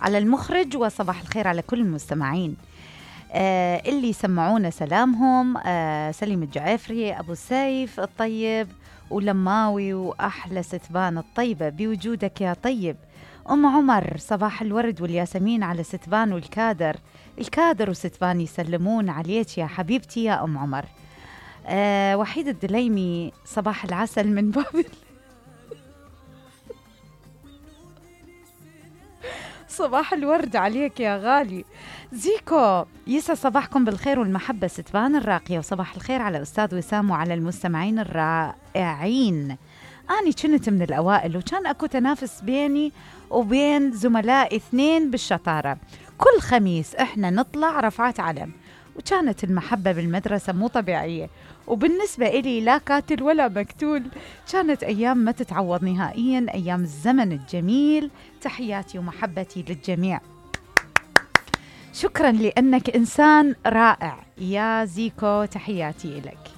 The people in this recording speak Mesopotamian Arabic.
على المخرج، وصباح الخير على كل المستمعين اللي سمعونا سلامهم. سليم الجعافري، أبو سيف الطيب، ولماوي، وأحلى ستبان الطيبة بوجودك يا طيب. أم عمر، صباح الورد والياسمين على ستبان والكادر. الكادر وستبان يسلمون عليك يا حبيبتي يا أم عمر. وحيد الدليمي، صباح العسل من بابل. صباح الورد عليك يا غالي. زيكو، يسعد صباحكم بالخير والمحبة ستبان الراقية، وصباح الخير على أستاذ وسام وعلى المستمعين الرائعين. أنا كنت من الأوائل، وكان أكو تنافس بيني وبين زملاء 2 بالشطارة. كل خميس إحنا نطلع رفعات علم، وكانت المحبة بالمدرسة مو طبيعية، وبالنسبة إلي لا كاتل ولا مكتول. كانت أيام ما تتعوض نهائيا، أيام الزمن الجميل. تحياتي ومحبتي للجميع. شكرا لأنك إنسان رائع يا زيكو، تحياتي إليك.